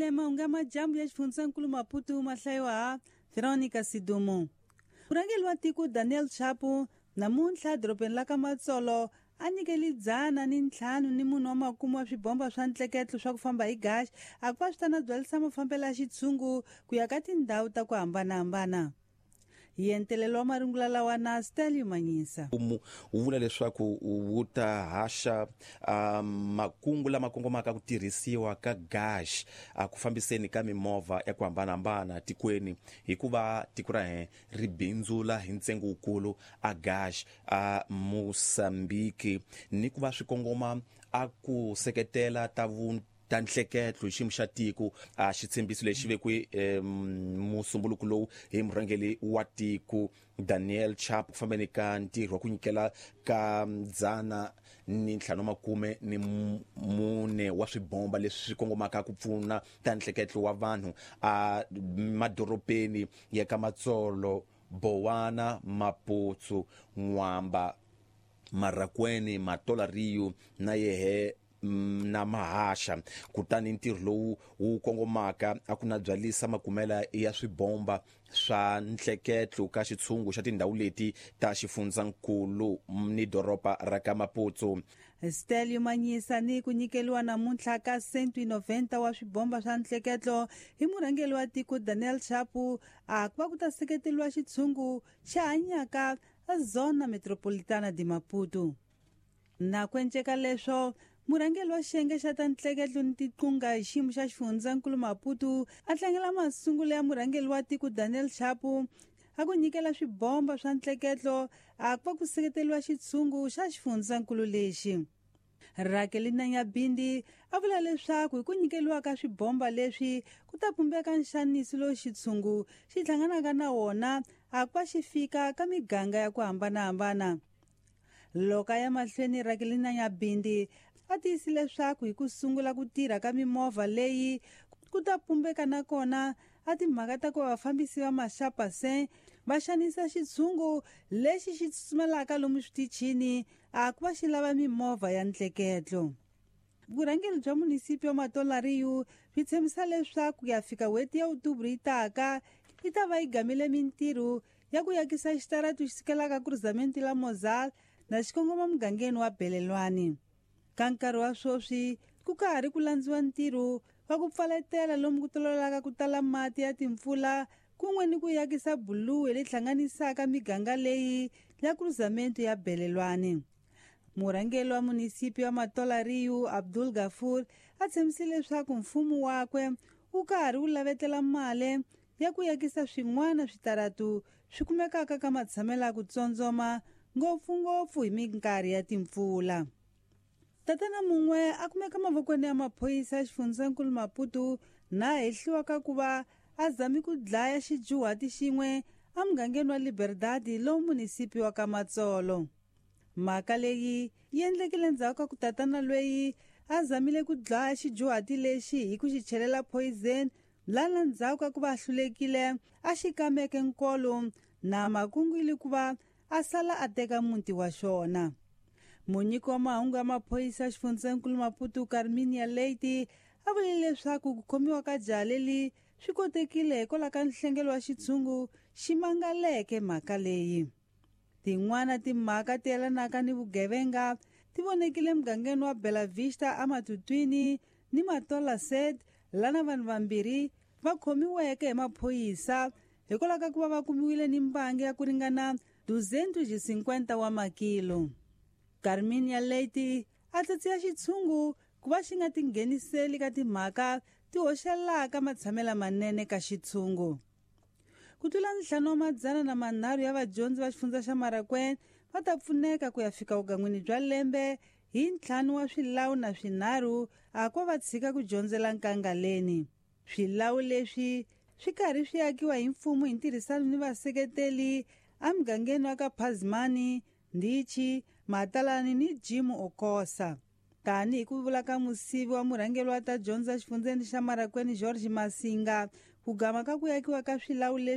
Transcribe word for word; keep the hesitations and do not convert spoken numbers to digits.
Leyi mahungu ya majambu ya xifundzankulu Maputo ma hlayiwa ha Veronica Sidumo. Murhangeri wa tiko Daniel Chapo namuntlha dorobeni la ka Matsolo a nyikeli dzana ni ntlhanu ni munhu wa makume wa swibomba swa ntleketlo swa ku famba hi gaxi a ku va swi ta na byalisa mafambelo ya xitshungu ku ya ka tindhawu ta ku hambanahambana. Hi entelelo wa marungula lawa na Stelio Manyisa. Mfumo wu vula leswaku wu ta haxa um, makungu lama kongomaka ku tirhisiwa ka gaxi a ku fambiseni ka mimovha ya ku hambanahambana tikweni, hikuva tiko ra hina ri bindzula hi ntsengo wukulu a gaxi a Mozambique, ni ku va swi kongoma a ku seketela ta vu ta nhleketlo hi xiyimo xa tiko. A xitshembiso lexi vekiwe musumbuluko lowu hi murhangeri wa tiko Daniel Chapo ku fambeni ka ntirho wa ku nyikela ka dzana ni ntlhanu makume ni mune wa swibomba leswi swi kongomaka ku pfuna ta nhleketlo wa vanhu a madorobeni ya ka Matsolo, Bowana, Maputsu, N'wamba, Marakweni, Matola Rio na yehe na Mahasha. Kutani ntirho lowu wu kongomaka a ku na byalisa makumela ya swibomba swa nhleketlo ka xitshungu xa tindhawu leti ta xifundzankulu ni doroba ra ka Maputo. Stelio Manyisa ni ku nyikeliwa namuntlha ka cento e noventa wa swibomba swa nhleketlo hi murhangeri wa tiko Daniel Chapo a ku va ku ta seketeriwa xitshungu xa hanyaka Zona Metropolitana de Maputo. Na ku enceka leswo, murhangeri wa xiyenge xa ta ntleketlo ni tiqunga hi xiyimo xa xifundzankulu Maputo a tlangela masungulo ya murhangeri wa tiko Daniel Chapo a ku nyikela swibomba swa ntleketlo a ku va ku seketeriwa xitshungu xa xifundzankulu lexi. Rakelina Nyabindi a vula leswaku hi ku nyikeliwa ka swibomba leswi ku ta pumbeka nxaniso lowu xitshungu xi hlanganaka na wona a ku va xi fika ka miganga ya ku hambanahambana. Loko a ya mahlweni, Rakelina Nyabindi a tiyisile leswaku hi ku sungula ku tirha ka mimovha leyi ku ta pumbeka nakona a timhaka ta ku vafambisi va maxapasen va xanisa xitshungu lexi xi tsutsumelaka lomu switichini a ku va xi lava mimovha ya ntleketlo. Vurhangeri bya munisipi wa Matola Rio byi tshembisa leswaku ku ya fika n'hweti ya Oktoba yi taka yi ta va yi gamile mintirho ya ku yakisa xitaratu xi sukelaka Cruzamento la Mozal na xikongoma mugangeni wa Belelwani. Ka nkarhi wa sweswi ku ka ha ri ku landziwa ntirho wa ku pfaletela lomu ku tololaka ku tala mati ya timpfula kun'we ni ku yakisa buluwe leyi hlanganisaka miganga leyi ya Cruzamento ya Belelwani. Murhangeri wa munisipi wa Matola Rio Abdul Gafur a tshembisile leswaku mfumo wakwe wu ka ha ri wu lavetela mali ya ku yakisa swin'wana switaratu swi kumekaka ka matshamelo ya ku tsondzoma ngopfungopfu hi minkarhi ya timpfula. Tatana mun'we a kumeka mavokweni ya maphorisa ya xifundzankulu Maputo na hehliwa ka ku va a zami ku dlaya xijuhati xin'we emugangeni wa Liberdad lowu munisipi wa ka Matsolo. Mhaka leyi yi endlekile endzhaku ka ku tatana loyi a zamile ku dlaya xijuhati lexi hi ku xi chelela poison lana ndzhaku ka ku va a hlulekile a xi kameke nkolo na makungu ili ku va a sala a teka muti wa xona. Munyiki wa mahungu ya maphorisa ya xifundzankulu Maputo Carminia Leite a vule leswaku ku khomiwa ka jaha leri swi kotekile hikwalaho ka nhlengelo wa xitshungu xi mangaleke mhaka leyi. Tin'wana timhaka ti yelanaka ni vugevenga ti vonekile emugangeni wa Bela Vista eMatutwini ni Matola Set lana vanhu vambirhi va khomiweke hi maphorisa hikwalaho ka ku va va kumiwile ni mbangi ya ku ringana duzentos e cinquenta wa makilo. Carminia Leite a tsatsiya xitshungu ku va xi nga tingheniseli ka timhaka ti hoxelaka matshamelo manene ka xitshungu. Ku tlula ntlhanu wa madzana na manharhu ya vadyondzi va xifundza xa Marakweni va ta pfuneka ku ya fika vugan'wini bya lembe hi ntlhanu wa swilawu na swinharhu a ku va tshika ku dyondzela nkangaleni. Swilawu leswi swi karhi swi akiwa hi mfumo hi ntirhisano ni vaseketeli emugangeni wa ka Phazimani, Ndichi, Matalani ni Jim Okosa. Tanihi ku vula ka musivi wa murhangeri wa ta dyondza xifundzeni xa Marakweni George Masinga, ku gama ka ku yakiwa ka swilawu leswi